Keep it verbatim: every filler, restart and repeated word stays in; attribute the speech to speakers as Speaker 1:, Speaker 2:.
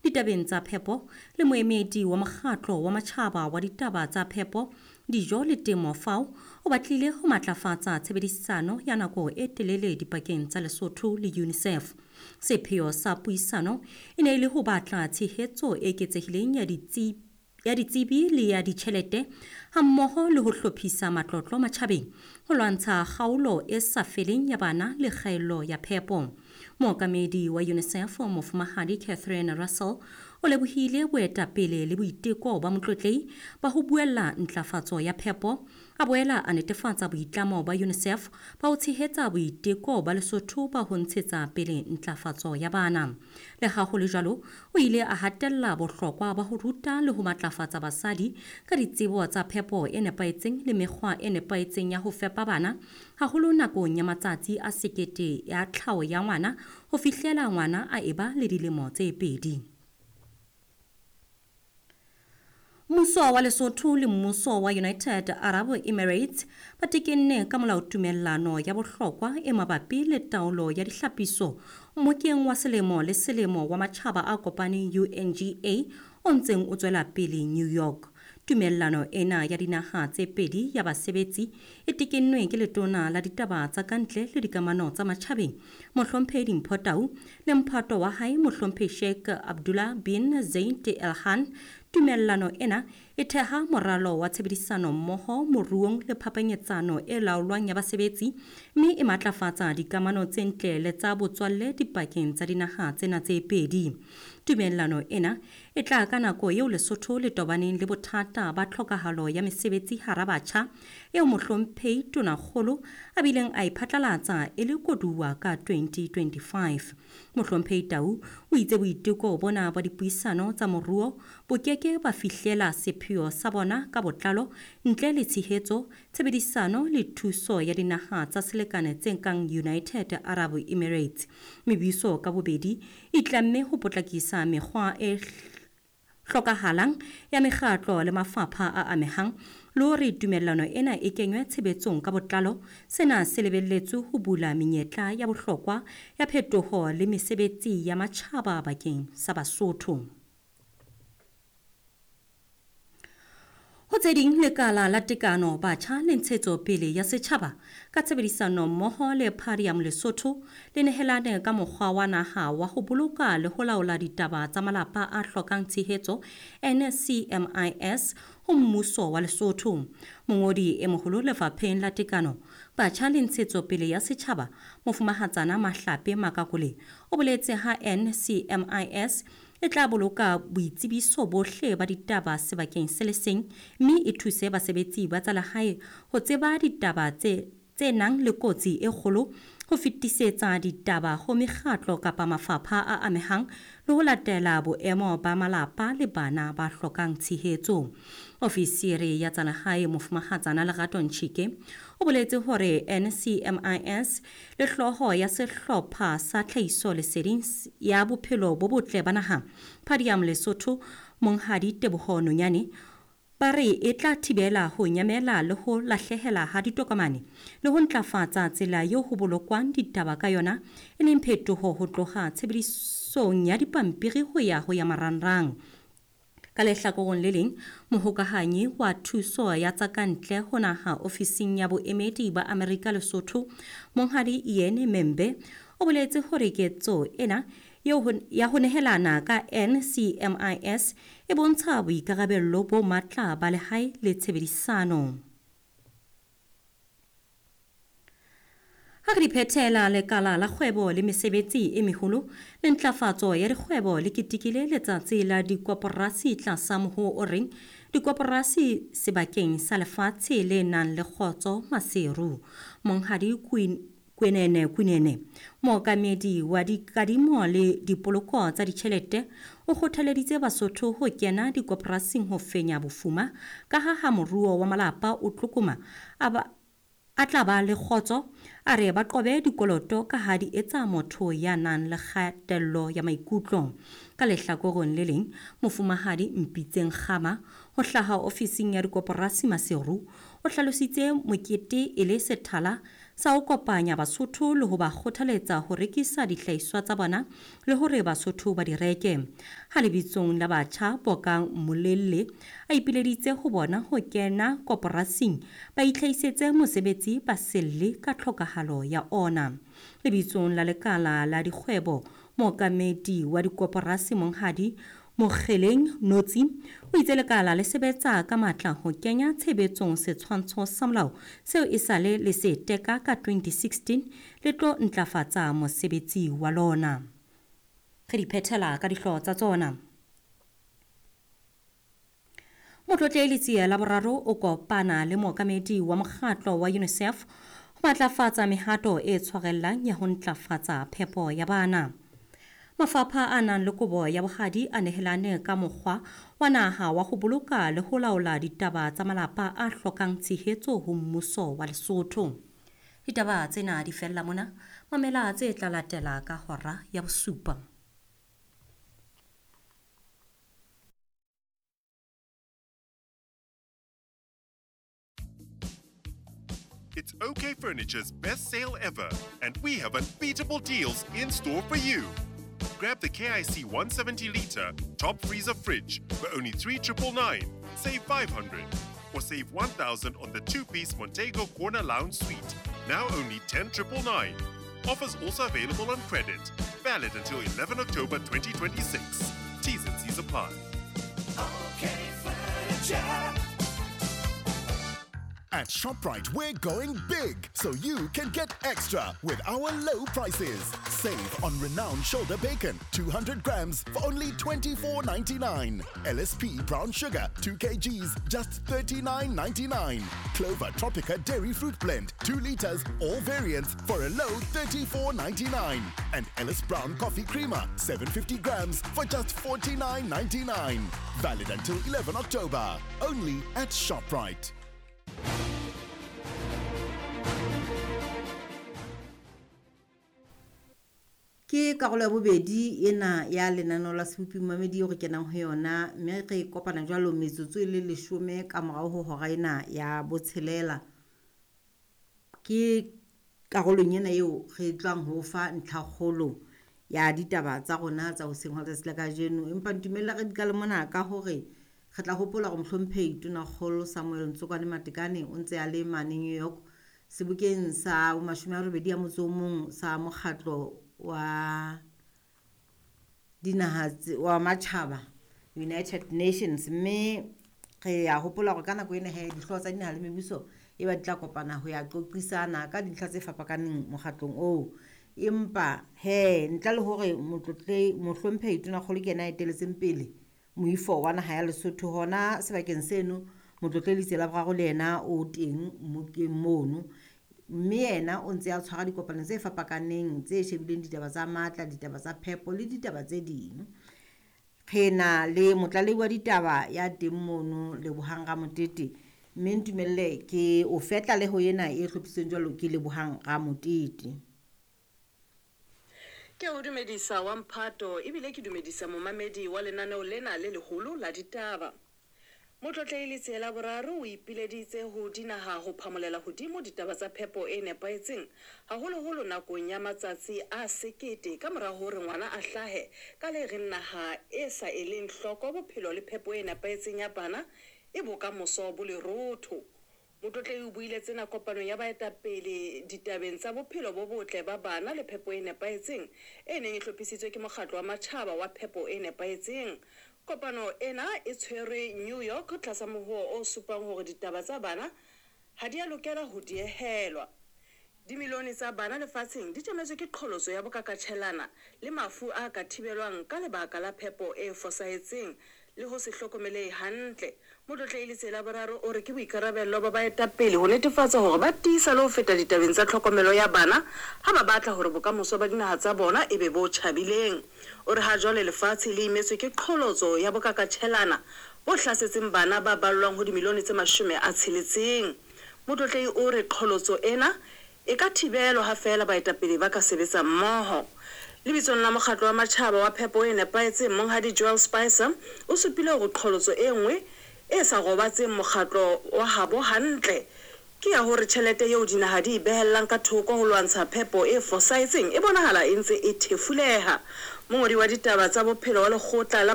Speaker 1: ditabeng tsa phepo le moemedi wa mokgatlo wa matjhaba wa ditaba tsa phepo, dijo le temo FAO, o batlile ho matlafatsa tshebedisano ya nako e telele dipakeng tsa Lesotho le UNICEF. Sepheo sa puisano e ne e le ho batla tshehetso e eketsehileng ya ditsi ya ditsebi le ya ditjhelete hammoho le ho hlophisa matlotlo matjhabeng ho lwantsha kgaolo e sa feleng ya bana le kgaello ya phepo. Mookamedi wa UNICEF Mofumahadi Catherine Russell o lebohile boetapele le boiteko ba Motlotlehi ba ho buella ntlafatso ya phepo, a boela a netefatsa boitlamo ba UNICEF ba ho tshehetsa boiteko ba Lesotho ba ho ntshetsa pele ntlafatso ya bana. Le ha ho le jwalo, o ile a hatella bohlokwa ba ho ruta le ho matlafatsa basadi ka ditsebo tsa phepo e nepahetseng le mekgwa e nepahetseng ya ho fepa bana, haholo nakong ya matsatsi a sekete ya tlhaho ya ngwana ho fihlela ngwana a eba le dilemo tse pedi. Mmuso wa Lesotho le mmuso wa United Arab Emirates ba tekenne ka molao tumellano ya bohlokwa e mabapi le taolo ya dihlapiso mmokeng wa selemo le selemo wa matjhaba a kopaneng U N G A o ntseng o tswela pele New York. Tumellano ena ya dinaha tse pedi ya basebetsi e tekennwe ke letona la ditaba tsa kantle le dikamano tsa matjhabeng Mohlomphehi Dimpho Tau le mphato wa hae Mohlomphehi Sheikh Abdullah bin Zayed Al Nahyan. Tumellano ena e theha moralo wa tshebedisano mmoho moruong le phapanyetsano e laolwang ya basebetsi mme e matlafatsa dikamano tse ntle le tsa botswalle dipakeng tsa dinaha tsena tse pedi. Tumellano ena e tla ka nako eo Lesotho le tobaneng le bothata ba tlhokahalo ya mesebetsi hara batjha eo Mohlomphehi Tonakgolo a bileng a e phatlalatsa e le koduwa ka twenty twenty-five. Mohlomphehi Tau o itse boiteko bona ba dipuisano tsa moruo bo keke ba fihlela sepheo sa bona ka botlalo ntle le tshehetso, tshebedisano le thuso ya dinaha tsa selekane tse kang United Arab Emirates. Mebuso ka bobedi e tlamme ho potlakisa mekgwa e hlokahalang ya mekgatlo le mafapha a amehang le hore tumellano ena e kenywe tshebetsong ka botlalo. Sena se lebelletswe ho bula menyetla ya bohlokwa ya phetoho le mesebetsi ya matjhaba bakeng sa Basotho. Ho tse ding, lekala la tekano batjha le ntshetsopele ya setjhaba ka tshebedisano mmoho le Parium Lesotho le nehelane ka mokgwa wa naha wa ho boloka le ho laola ditaba tsa malapa a hlokang tshehetso N C M I S ho mmuso wa Lesotho. Mongodi e moholo lefapheng la tekano batjha le ntshetsopele ya setjhaba Mofumahatsana Mahlape Makakole o boletse ha N C M I S e tla boloka boitsebiso bohle ba ditaba sebakeng se le seng mme e thuse basebetsi ba tsa lehae ho tseba ditaba tse tse nang le kotsi e kgolo, ho fetisetsa ditaba ho mekgatlo kapa mafapha a amehang le ho latela boemo ba malapa le bana ba hlokang tshehetso. Ofisiri ya tsa lehae Mofumahatsana Lerato Ntshike o boletse hore N C M I S le hlooho ya sehlopha sa tlhahiso leseding ya bophelo bo botle ba naha Padium Lesotho Monghadi Teboho Nonyane ba re e tla thibela ho nyamela le ho lahlehela ha ditokomane le ho ntlafatsa tsela eo ho bolokwang ditaba ka yona, e leng phetoho ho tloha tshebedisong ya dipampiri ho ya ho ya marangrang. Ka lehlakoreng le leng, mohokahanyi wa thuso ya tsa kantle ho naha ofising ya boemedi ba Amerika Lesotho Monghadi Ian Membe o boletse hore ketso ena ya ho nehelana ka N C M I S e bontsha boikarabello bo matla ba lehae le tshebedisano. Ha re phethela, lekala la kgwebo le mesebetsi e meholo le ntlafatso ya dikgwebo le ketekile letsatsi la dikoporasi tlasa mohoo o reng dikoporasi sebakeng sa lefatshe le nang le kgotso Maseru. Monghadi Queen Kwenene Kunene, mookamedi wa dikadimo le dipoloko tsa ditjhelete, o kgothaleditse Basotho ho kena dikoporasing ho fenya bofuma ka ha ha moruo wa malapa o tlokoma a ba a tla ba le kgotso. A re ba qobe dikoloto ka ha di etsa motho ya nang le kgatello ya maikutlo. Ka lehlakoreng le leng, Mofumahadi Mpitseng Kgama ho hlaha ofising ya dikoporasi Maseru o hlalositse mokete e le sethala sa ho kopanya Basotho le ho ba kgothaletsa ho rekisa dihlahiswa tsa bona le hore Basotho ba di reke. Ha lebitsong la batjha Bokang Molelle a ipileditse ho bona ho kena koporasing ba itlhahisetse mosebetsi ba selle ka tlhokahalo ya ona. Lebitsong la lekala la dikgwebo mookamedi wa dikoporasi Monghadi Mokgeleng Notsi o itse lekala le sebetsa ka matla ho kenya tshebetsong setshwantsho sa molao seo e sale le se teka ka twenty sixteen le tlo ntlafatsa mosebetsi wa lona. Re di phethela ka dihlooho tsa tsona. Motlotlehi Letsie la boraro o kopana le mookamedi wa mokgatlo wa UNICEF ho matlafatsa mehato e tshwarellang ya ho ntlafatsa phepo ya bana. Mafapha a nang le kobo ya bohadi a nehelane ka mokgwa wa naha wa ho boloka le ho laola ditaba tsa malapa a hlokang tshehetso ho mmuso wa Lesotho. Ditaba tsena di fella mona, mamela tse tla latela ka hora ya bosupa.
Speaker 2: It's OK Furniture's best sale ever, and we have unbeatable deals in store for you. Grab the K I C one seventy litre top freezer fridge for only three triple nine, save five hundred, or save one thousand on the two-piece Montego Corner Lounge Suite, now only ten triple nine. Offers also available on credit, valid until eleven October twenty twenty-six. T's and C's apply.
Speaker 3: OK Furniture.
Speaker 4: At ShopRite, we're going big, so you can get extra with our low prices. Save on renowned shoulder bacon, two hundred grams for only twenty-four ninety-nine. L S P brown sugar, two kilograms, just thirty-nine ninety-nine. Clover Tropica dairy fruit blend, two liters, all variants for a low thirty-four ninety-nine. And Ellis Brown coffee creamer, seven hundred fifty grams for just forty-nine ninety-nine. Valid until eleven October, only at ShopRite.
Speaker 5: Ke karolo ya bobedi ena ya lenaneo la Sebopi Momamedi eo re kenang ho yona, mme re kopana jwalo metsotso e le leshome ka morao ho hora ena ya botshelela. Ke karolong ena eo re tlang ho fa ntlhakgolo ya ditaba tsa rona tsa hoseng hwa letsatsi la kajeno. Empa ntumella re di qale mona ka hore re tla hopola hore mohlomphehi Tonakgolo Samuel Ntsokwane Matekane o ntse a le mane New York sebokeng sa mashome a robedi a motso o mong sa mokgatlo wa dinaha wa matjhaba United Nations, mme re a hopola hore ka nako ena he dihlooho tsa dinaha le mebuso e ba di tla kopana ho ya qoqisana ka dintlha tse fapakaneng mokgatlong oo. Empa he ntle le hore motlotle mohlomphehi Tonakgolo ke yena a eteletseng pele moifo wa naha ya Lesotho hona sebakeng seno, motlotlehedi Letsie la boraro le yena o teng mokeng mono, mme yena o ntse a tshwara dikopano tse fapakaneng tse shebileng ditaba tsa matla, ditaba tsa phepo le ditaba tse ding. Re na le motlalehi wa ditaba ya teng mono Lebohang Ramotete, mme ntumelle ke o fe tlaleho ena e hlophisitsweng jwalo ke Lebohang Ramotete.
Speaker 6: Ke o dumedisa wa mphato ebile ke dumedisa momamedi wa lenaneo lena le leholo la ditaba. Motlotlehi Letsie la boraro o ipileditse ho dinaha ho phamolela hodimo ditaba tsa phepo e nepahetseng, haholoholo nakong ya matsatsi a sekete ka mora hore ngwana a hlahe, ka le reng naha e sa eleng hloko bophelo le phepo e nepahetseng ya bana e bokamoso bo lerotho. Motlotlehi o buile tsena kopanong ya baetapele ditabeng tsa bophelo bo botle ba bana le phepo e nepahetseng e neng e hlophisitswe ke mokgatlo wa matjhaba wa phepo e nepahetseng. Kopano ena e tshwerwe New York tlasa mohoo o supang hore ditaba tsa bana ha di a lokela ho diehelwa. Dimilione tsa bana lefatsheng di tjametswe ke qholotso ya bokakatjhelana le mafu a ka thibelwang ka lebaka la phepo e fosahetseng le ho se hlokomelehe hantle. Motlotlehi Letsie la boraro o re ke boikarabello ba baetapele ho netefatsa hore ba tiisa le ho feta ditabeng tsa tlhokomelo ya bana ha ba batla hore bokamoso ba dinaha tsa bona e be bo tjhabileng. O re ha jwale lefatshe le imetswe ke qholotso ya bokakatjhelana bo hlasetseng bana ba ballwang ho dimilione tse mashome a tsheletseng. Motlotlehi o re qholotso ena e ka thibelwa ha feela baetapele ba ka sebetsa mmoho. Lebitsong la mokgatlo wa matjhaba wa phepo e nepahetseng, Monghadi Joel Spicer o supile hore qholotso e nngwe e sa robatseng mokgatlo wa habo hantle ke ya hore tjhelete eo dinaha di e behellang ka thoko ho lwantsha phepo e fosahetseng e bonahala e ntse e thefuleha. Mongodi wa ditaba tsa bophelo wa lekgotla la